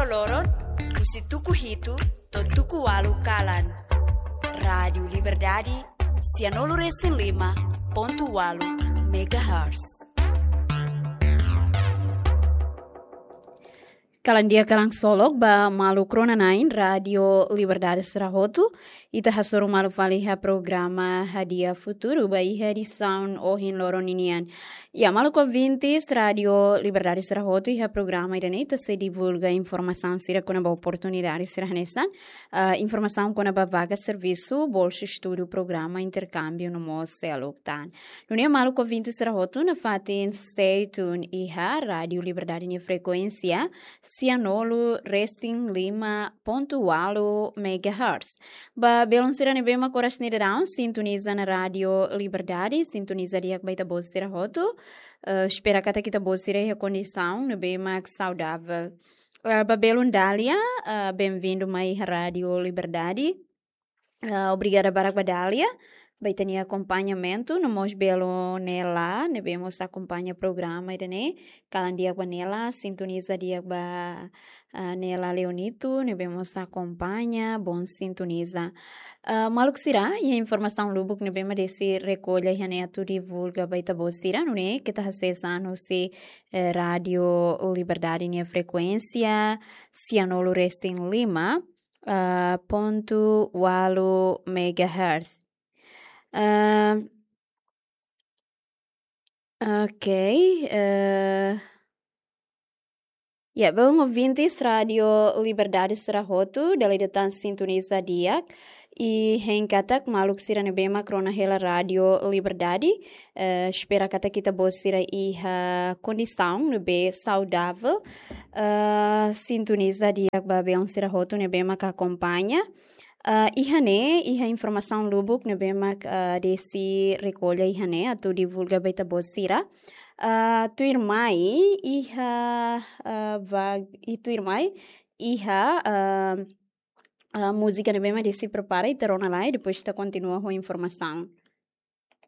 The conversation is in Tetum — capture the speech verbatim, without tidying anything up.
loron, husi tuku hitu to'o tuku ualu kalan. Rádiu Liberdade, sianulu resin lima pontu ualu megahertz. Kalan di'ak, kalan ksolok ba maluk rona-na'in Rádiu Liberdade sira hotu. Ita hasoru malu fali iha programa Hadi'a Futuru ba iha edisaun ohin loron ninian. Ya, maluk ouvintes Rádiu Liberdade sira hotu, iha programa ida-ne'e ita sei divulga informasaun sira kona-ba oportunidade sira hanesan, ah, informasaun kona-ba vaga servisu, bolsa estudu, programa interkámbiu no mós seluk tan. Nune'e maluk ouvintes sira hotu, nafatin stay tune iha Rádiu Liberdade nia frekuénsia, sianulu resin lima pontu ualu megahertz. Ba belun sira ne'ebé mak oras ne'e daudaun sintoniza ona Rádiu Liberdade, sintoniza di'ak ba ita-boot sira hotu. Eh, espera katak ita-boot sira iha kondisaun ne'ebé mak saudavel. Eh, ba belun Dália, eh, bem-vindu mai iha Rádiu Liberdade. Ah, obrigada barak ba Dália ba ita-nia akompañamentu, no mós belun Nela, ne'ebé mós akompaña programa ida-ne'e. Kalan di'ak ba Nela, sintoniza di'ak ba, ah, Nela Leonito, ne'ebé mós akompaña, bom sintoniza. Ah, maluk sira, iha informasaun lubuk ne'ebé mak Desi rekolla iha ne'e atu divulga ba ita-boot sira, nune'e keta hasees an husi, eh, Rádiu Liberdade nia frekuénsia, sianulu resin lima, ah, pontu ualu megahertz. Ah, ok, eh, ya, belun ouvintes Rádiu Liberdade sira hotu, dala ida tan sintoniza di'ak. I hein katak maluk sira ne'ebé mak rona hela Rádiu Liberdade, eh, espera katak ita-boot sira iha kondisaun ne'ebé saudavel, eh, sintoniza di'ak ba belun sira hotu ne'ebé mak akompaña. Ah, iha ne'e, iha informasaun lubuk ne'ebé mak, ah, Desi rekolla iha ne'e atu divulga ba ita-boot sira. Ah, tuirmai, iha, ah, vag-, i tuirmai, iha, ah, ah, múzika ne'ebé mak Desi prepara, ita rona lai, depois ita kontinua ho informasaun.